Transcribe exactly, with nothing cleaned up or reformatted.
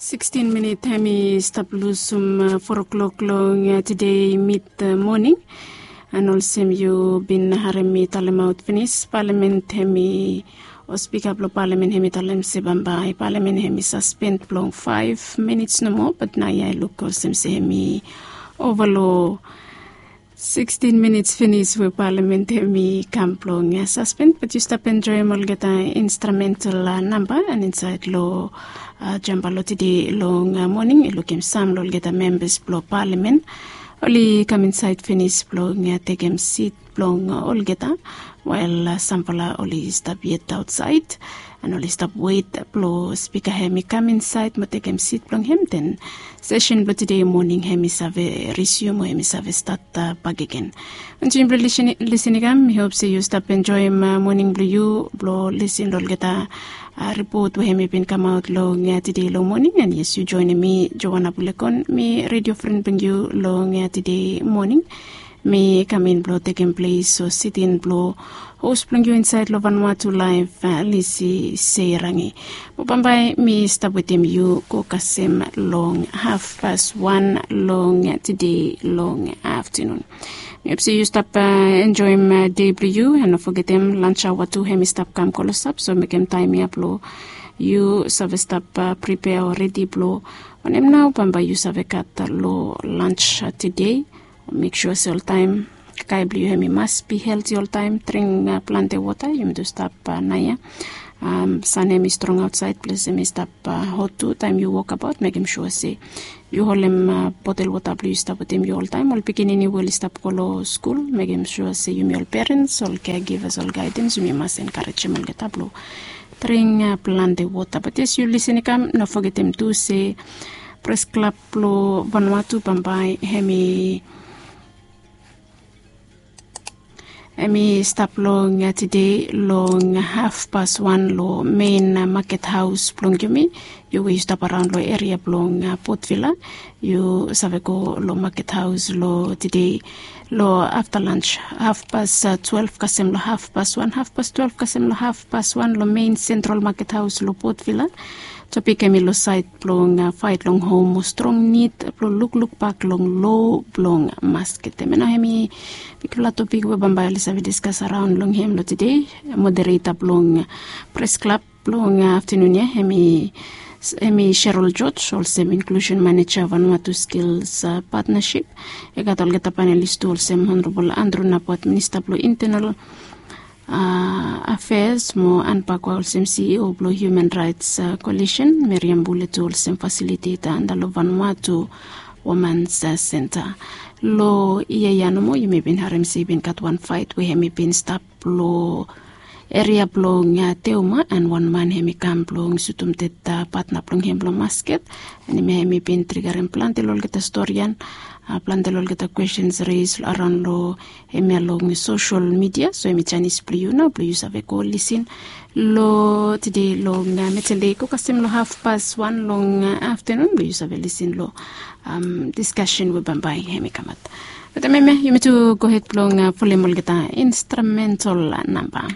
Sikstin minit hem i stap lusum fo klok long tede mit moning. An olsem yu bin harem mi talemaot finis, palamen hem i o spika blong palamen hem i talem se bambae palamen hem i saspen blong faef minits nomo, bat naoia i luk olsem se hem i ova long sikstin minits finis we palamen hem i kam blong saspen. Bat yu stap enjoem olgeta instrumental namba an insaed long jamba long tede long moning i lukim sam long olgeta membas blong palamen oli kam insaed finis blong tekem sit blong olgeta, wael sampela oli stap yet aotsaed an oli stap wet blong spika hem i kam insaed mo tekem sit blong hem, den sesen blong tede moning hem i save risium o hem i save stat bakegen. Anti yu blong lisin i kam, mi hop se yu stap enjoem moning blong yu blong lisin long olgeta ripot we hem i bin kamaot long tede long moning. An yes, yu joenem mi, Joana Bulekon, mi redio fren blong yu long tede moning. Mi kam in blong tekem ples o sitin blong hos blong yu insaed long Vanuatu Laef, Lisi Seirangi. Mo bambae mi stap wetem yu go kasem long hafpas wan long tede long aftanun. Mi hop se yu stap enjoem dei blong yu an no fogetem lans aoa tu hem i stap kam klosap, so mekem taem ya blong yu save stap pripea o redi blong wanem nao bambae yu save gat long lans tede. Mek sua se oltaem kakae blong yu hem i mas bi helti oltaem, dring plante wota, yumi tu stap naoia. San hem i strong aotsaed, ples hem i stap hot tu, taem yu wokabaot mekem sua se yu holem botel wota blong yu stap wetem yu oltaem. Ol pikinini we oli stap go long skul, mekem sua se yumi ol perens, ol kegivas, ol gaedens, yumi mas enkarejem olgeta blong dring plante wota. Bat yes, yu lisin i kam, no fogetem tu se pres klab blong Vanuatu bambae hem i hem i stap long tede long hafpas wan long mein maket haos blong yumi. Yu we yu stap araon long eria blong Port Vila, yu save go long maket haos long tede long afta lans, hafpas twelef kasem long hafpas wan, hafpas twelef kasem long hafpas wan long mein sentral maket haos long Port Vila. Topik hem i long saed blong faet long hom mo strong nid blong lukluk bak long lo blong masket. Hem ya nao hem i bigfala topik we bambae oli save diskas araon long hem long tede. Modereta blong pres klab blong aftanun ya hem i Cheryl George, olsem inklusen maneja Vanuatu Skills Partnership. I gat olgeta panelis tu, olsem Honorabol Andrew Napat, minista blong intenal afeas, mo Ann Pakwa olsem CEO blong Human Rights Coalition, Miriam Bule tu olsem fasiliteta anda long Vanuatu Womans Senta. Long yia ya nomo yumi bin harem se i bin gat wan faet we hem i bin stap long eria blong Teuma, an wan man hem i kam blong sutum ded patna blong hem long masket. An hemia hem i bin trigarem plante long olgeta storian, plante long olgeta kwestens res araon long hemia long sosel midia. So hem i janis blong yu nao blong yu save go lisin long tede long Metele i go kasem long hafpas wan long aftanun blong yu save lisin long diskasen we bambae hem i kamat. Bat hemia yumi tu gohed blong folem olgeta instrumental namba.